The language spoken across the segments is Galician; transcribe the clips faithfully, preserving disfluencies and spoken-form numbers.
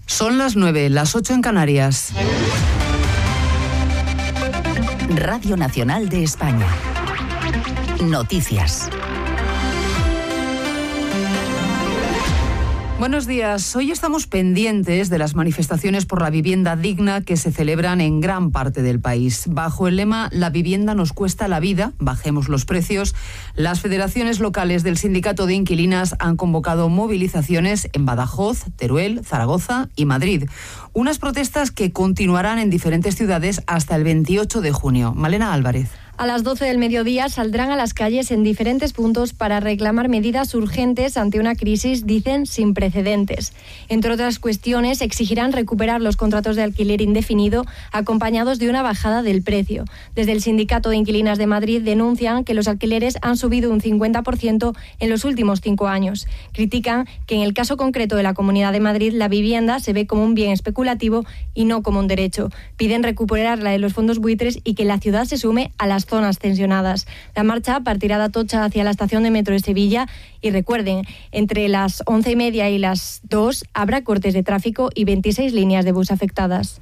Son las nueve, las ocho en Canarias. Radio Nacional de España. Noticias. Buenos días. Hoy estamos pendientes de las manifestaciones por la vivienda digna que se celebran en gran parte del país. Bajo el lema "La vivienda nos cuesta la vida, bajemos los precios", las federaciones locales del Sindicato de Inquilinas han convocado movilizaciones en Badajoz, Teruel, Zaragoza y Madrid. Unas protestas que continuarán en diferentes ciudades hasta el veintiocho de junio. Malena Álvarez. A las doce del mediodía saldrán a las calles en diferentes puntos para reclamar medidas urgentes ante una crisis, dicen, sin precedentes. Entre otras cuestiones, exigirán recuperar los contratos de alquiler indefinido acompañados de una bajada del precio. Desde el Sindicato de Inquilinas de Madrid denuncian que los alquileres han subido un cincuenta por ciento en los últimos cinco años. Critican que en el caso concreto de la Comunidad de Madrid la vivienda se ve como un bien especulativo y no como un derecho. Piden recuperarla de los fondos buitres y que la ciudad se sume a las zonas tensionadas. La marcha partirá de Atocha hacia la estación de metro de Sevilla y recuerden, entre las once y media y las dos habrá cortes de tráfico y veintiséis líneas de bus afectadas.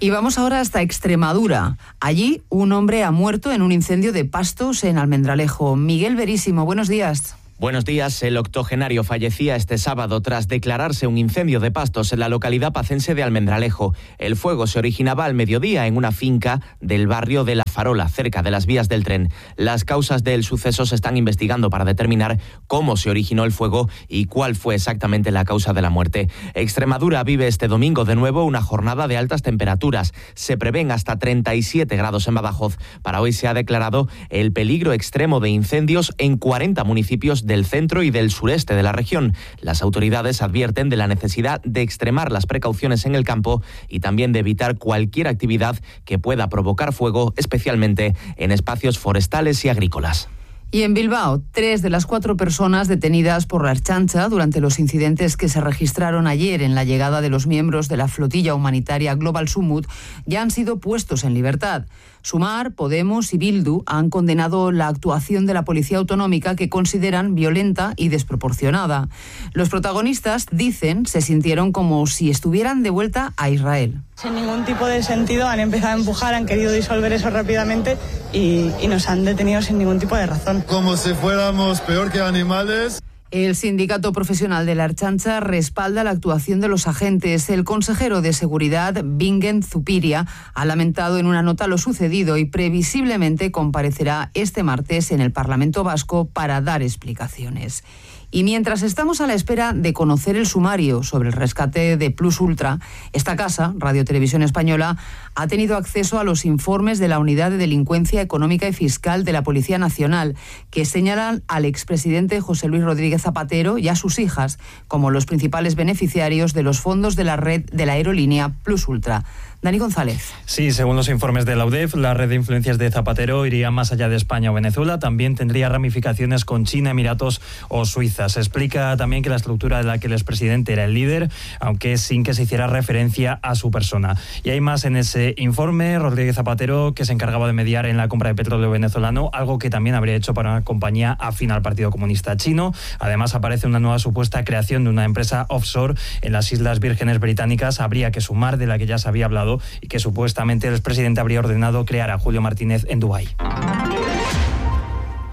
Y vamos ahora hasta Extremadura. Allí un hombre ha muerto en un incendio de pastos en Almendralejo. Miguel Verísimo, buenos días. Buenos días. El octogenario fallecía este sábado tras declararse un incendio de pastos en la localidad pacense de Almendralejo. El fuego se originaba al mediodía en una finca del barrio de La Farola, cerca de las vías del tren. Las causas del suceso se están investigando para determinar cómo se originó el fuego y cuál fue exactamente la causa de la muerte. Extremadura vive este domingo de nuevo una jornada de altas temperaturas. Se prevén hasta treinta y siete grados en Badajoz. Para hoy se ha declarado el peligro extremo de incendios en cuarenta municipios del centro y del sureste de la región. Las autoridades advierten de la necesidad de extremar las precauciones en el campo y también de evitar cualquier actividad que pueda provocar fuego, especialmente en espacios forestales y agrícolas. Y en Bilbao, tres de las cuatro personas detenidas por la Ertzaintza durante los incidentes que se registraron ayer en la llegada de los miembros de la flotilla humanitaria Global Sumut ya han sido puestos en libertad. Sumar, Podemos y Bildu han condenado la actuación de la Policía Autonómica, que consideran violenta y desproporcionada. Los protagonistas, dicen, se sintieron como si estuvieran de vuelta a Israel. Sin ningún tipo de sentido han empezado a empujar, han querido disolver eso rápidamente y, y nos han detenido sin ningún tipo de razón. Como si fuéramos peor que animales. El sindicato profesional de la Ertzaintza respalda la actuación de los agentes. El consejero de Seguridad, Bingen Zupiria, ha lamentado en una nota lo sucedido y previsiblemente comparecerá este martes en el Parlamento Vasco para dar explicaciones. Y mientras estamos a la espera de conocer el sumario sobre el rescate de Plus Ultra, esta casa, Radio Televisión Española, ha tenido acceso a los informes de la Unidad de Delincuencia Económica y Fiscal de la Policía Nacional, que señalan al expresidente José Luis Rodríguez Zapatero y a sus hijas como los principales beneficiarios de los fondos de la red de la aerolínea Plus Ultra. Dani González. Sí, según los informes de la U D E F, la red de influencias de Zapatero iría más allá de España o Venezuela. También tendría ramificaciones con China, Emiratos o Suiza. Se explica también que la estructura de la que el expresidente era el líder, aunque sin que se hiciera referencia a su persona. Y hay más en ese informe. Rodríguez Zapatero, que se encargaba de mediar en la compra de petróleo venezolano, algo que también habría hecho para una compañía afín al Partido Comunista Chino. Además, aparece una nueva supuesta creación de una empresa offshore en las Islas Vírgenes Británicas. Habría que sumar, de la que ya se había hablado, y que supuestamente el expresidente habría ordenado crear a Julio Martínez en Dubái.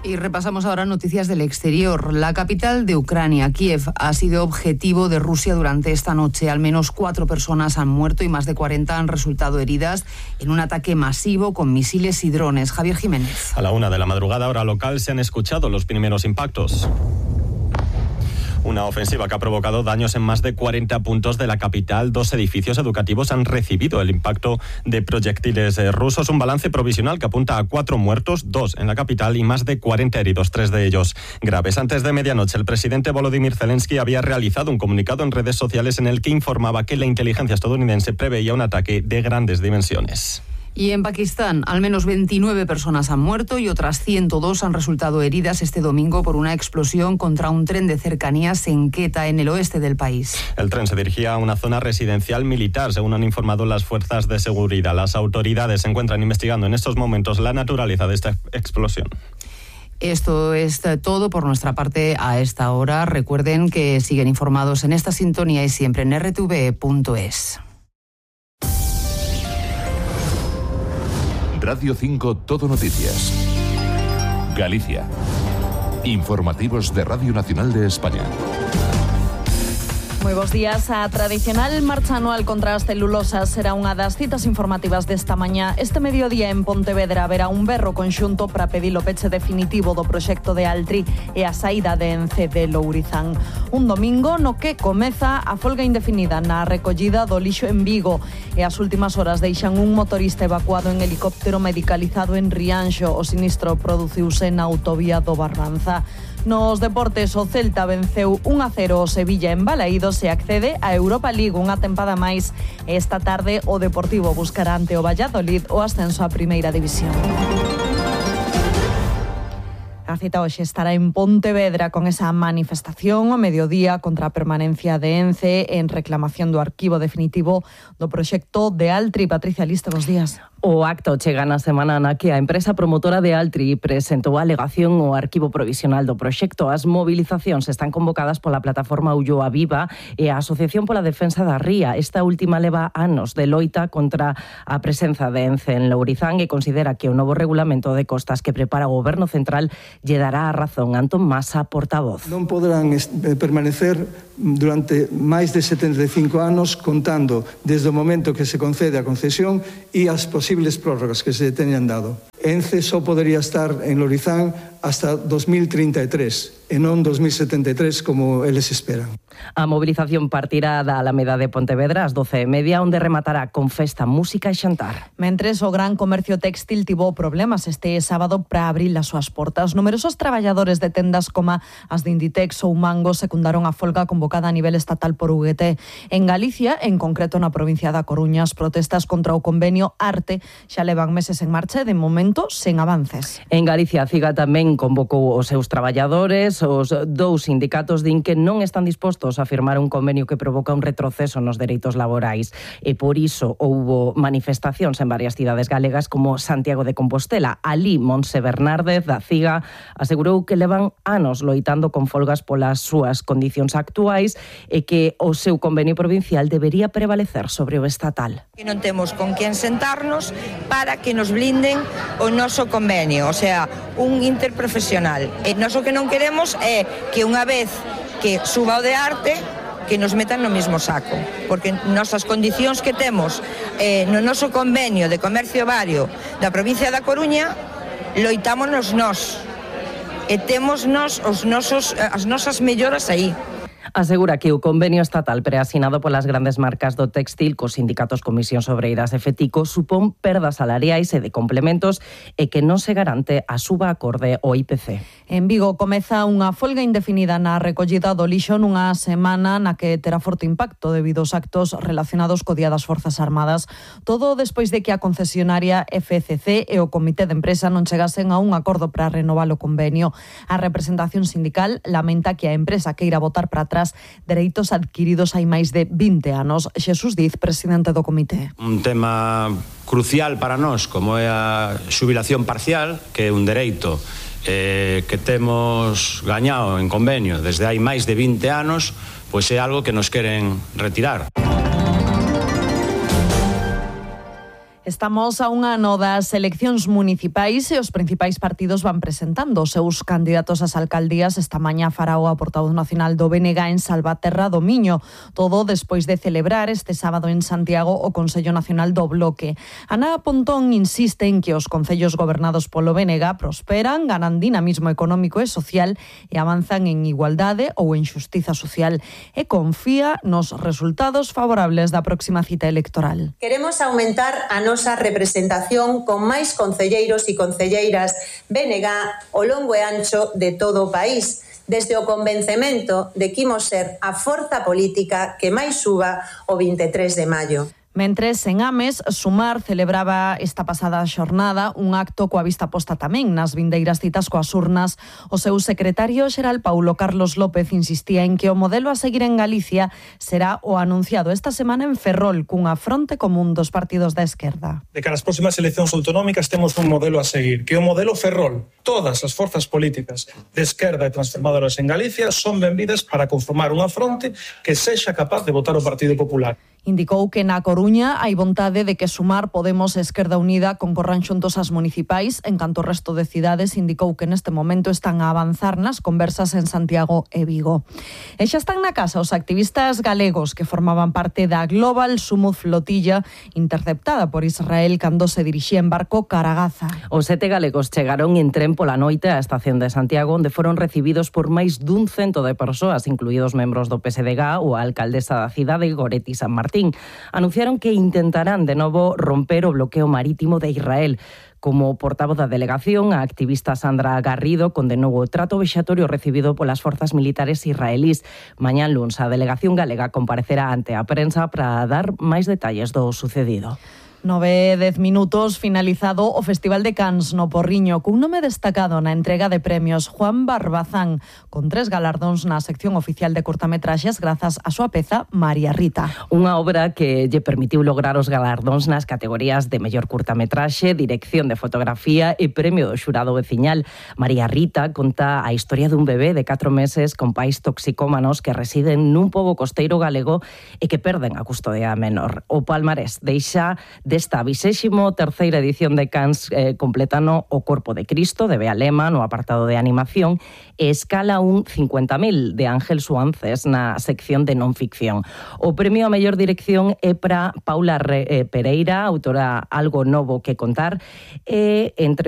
Y repasamos ahora noticias del exterior. La capital de Ucrania, Kiev, ha sido objetivo de Rusia durante esta noche. Al menos cuatro personas han muerto y más de cuarenta han resultado heridas en un ataque masivo con misiles y drones. Javier Jiménez. A la una de la madrugada, hora local, se han escuchado los primeros impactos. Una ofensiva que ha provocado daños en más de cuarenta puntos de la capital. Dos edificios educativos han recibido el impacto de proyectiles rusos. Un balance provisional que apunta a cuatro muertos, dos en la capital y más de cuarenta heridos, tres de ellos graves. Antes de medianoche, el presidente Volodymyr Zelensky había realizado un comunicado en redes sociales en el que informaba que la inteligencia estadounidense preveía un ataque de grandes dimensiones. Y en Pakistán, al menos veintinueve personas han muerto y otras ciento dos han resultado heridas este domingo por una explosión contra un tren de cercanías en Quetta, en el oeste del país. El tren se dirigía a una zona residencial militar, según han informado las fuerzas de seguridad. Las autoridades se encuentran investigando en estos momentos la naturaleza de esta explosión. Esto es todo por nuestra parte a esta hora. Recuerden que siguen informados en esta sintonía y siempre en r t v punto es. Radio cinco Todo Noticias. Galicia. Informativos de Radio Nacional de España. Moi bos días. A tradicional marcha anual contra as celulosas será unha das citas informativas desta mañá. Este mediodía en Pontevedra haberá un berro conxunto para pedir o peche definitivo do proxecto de Altri e a saída de Ence de Lourizán. Un domingo no que comeza a folga indefinida na recollida do lixo en Vigo e as últimas horas deixan un motorista evacuado en helicóptero medicalizado en Rianxo. O sinistro produciuse na autovía do Barbanza. Nos deportes, o Celta venceu un a cero o Sevilla en Balaídos e accede a Europa League unha tempada máis. Esta tarde o Deportivo buscará ante o Valladolid o ascenso á Primeira División. A cita hoxe estará en Pontevedra con esa manifestación ao mediodía contra a permanencia de Ence en reclamación do arquivo definitivo do proxecto de Altri. Patricia Liste, bos días. O acto chega na semana na que a empresa promotora de Altri presentou a alegación ao arquivo provisional do proxecto. As movilizacións están convocadas pola plataforma Ulloa Viva e a Asociación pola Defensa da Ría. Esta última leva anos de loita contra a presenza de Ence en Lourizán e considera que o novo regulamento de costas que prepara o Goberno Central lle dará a razón. Antón Masa, portavoz. Non poderán permanecer durante máis de setenta e cinco anos contando desde o momento que se concede a concesión e as posibles prórrogas que se teñan dado. Ence só podería estar en Lourizán hasta dos mil trinta e tres e non dos mil setenta e tres como eles esperan. A movilización partirá da Alameda de Pontevedra ás doce e media, onde rematará con festa, música e xantar. Mentres o gran comercio textil tivo problemas este sábado para abrir as súas portas. Numerosos traballadores de tendas como as de Inditex ou Mango secundaron a folga convocada a nivel estatal por U G T. En Galicia, en concreto na provincia da Coruña, as protestas contra o convenio Arte xa levan meses en marcha e de momento sen avances. En Galicia, a CIGA tamén convocou os seus traballadores. Os dous sindicatos din que non están dispostos a firmar un convenio que provoca un retroceso nos dereitos laborais e por iso houbo manifestacións en varias cidades galegas como Santiago de Compostela. Alí, Monse Bernárdez, da CIGA, asegurou que levan anos loitando con folgas polas súas condicións actuais e que o seu convenio provincial debería prevalecer sobre o estatal. Que non temos con quen sentarnos para que nos blinden o noso convenio, o sea, un interprofesional. E nós o que non queremos é que unha vez que suba o de Arte, que nos metan no mesmo saco, porque nosas condicións que temos eh, no noso convenio de comercio vario da provincia da Coruña, loitámonos nós e temos nos os nosos, as nosas melloras aí. Asegura que o convenio estatal preasinado polas grandes marcas do textil cos sindicatos Comisións Obreiras e Fetico supón perdas salariais e de complementos e que non se garante a suba acorde ao I P C. En Vigo comeza unha folga indefinida na recollida do lixo nunha semana na que terá forte impacto debido aos actos relacionados co Día das Forzas Armadas. Todo despois de que a concesionaria F C C e o Comité de Empresa non chegasen a un acordo para renovar o convenio. A representación sindical lamenta que a empresa queira botar para atrás dereitos adquiridos hai máis de vinte anos. Xesús Diz, presidente do comité. Un tema crucial para nós, como é a xubilación parcial, que é un dereito eh, que temos gañado en convenio desde hai máis de vinte anos, pois é algo que nos queren retirar. Estamos a un ano das eleccións municipais e os principais partidos van presentando os seus candidatos ás alcaldías. Esta mañá fará o portavoz nacional do B N G en Salvaterra do Miño. Todo despois de celebrar este sábado en Santiago o Consello Nacional do Bloque. Ana Pontón insiste en que os concellos gobernados polo B N G prosperan, ganan dinamismo económico e social e avanzan en igualdade ou en xustiza social. E confía nos resultados favorables da próxima cita electoral. Queremos aumentar a nosa representación con máis concelleiros e concelleiras B N G ao longo e ancho de todo o país, desde o convencemento de que imos ser a forza política que máis suba o vinte e tres de maio. Mentres, en Ames, Sumar celebraba esta pasada xornada un acto coa vista posta tamén nas vindeiras citas coas urnas. O seu secretario xeral Paulo Carlos López insistía en que o modelo a seguir en Galicia será o anunciado esta semana en Ferrol cunha fronte común dos partidos da esquerda. De cara ás próximas eleccións autonómicas temos un modelo a seguir, que é o modelo Ferrol. Todas as forzas políticas de esquerda e transformadoras en Galicia son benvidas para conformar unha fronte que sexa capaz de votar o Partido Popular. Indicou que na Coruña hai vontade de que Sumar, Podemos e Esquerda Unida concorran xuntos ás municipais. En canto ao resto de cidades, indicou que neste momento están a avanzar nas conversas en Santiago e Vigo. E xa están na casa os activistas galegos que formaban parte da Global Sumud Flotilla interceptada por Israel cando se dirixía en barco cara a Gaza. Os sete galegos chegaron en tren pola noite á estación de Santiago, onde foron recibidos por máis dun cento de persoas, incluídos membros do P S D G ou a alcaldesa da cidade, Goretti San Martín. Anunciaron que intentarán de novo romper o bloqueo marítimo de Israel. Como portavoz da delegación, a activista Sandra Garrido condenou o trato vexatorio recibido polas forzas militares israelís. Mañán luns, a delegación galega comparecerá ante a prensa para dar máis detalles do sucedido. Nove e dez minutos, finalizado o Festival de Cannes no Porriño, cun nome destacado na entrega de premios, Juan Barbazán, con tres galardóns na sección oficial de curtametraxes grazas á súa peza María Rita. Unha obra que lle permitiu lograr os galardóns nas categorías de mellor curtametraxe, dirección de fotografía e premio do xurado veciñal. María Rita conta a historia dun bebé de catro meses con pais toxicómanos que residen nun pobo costeiro galego e que perden a custodia menor. O palmarés deixa desta vixésimo terceira edición de Cannes eh, completano O Corpo de Cristo, de Bea Lema, no apartado de animación, e Escala un cincuenta mil, de Ángel Suances, na sección de non ficción. O premio a mellor dirección é para Paula Re, eh, Pereira, autora Algo Novo que Contar, e entre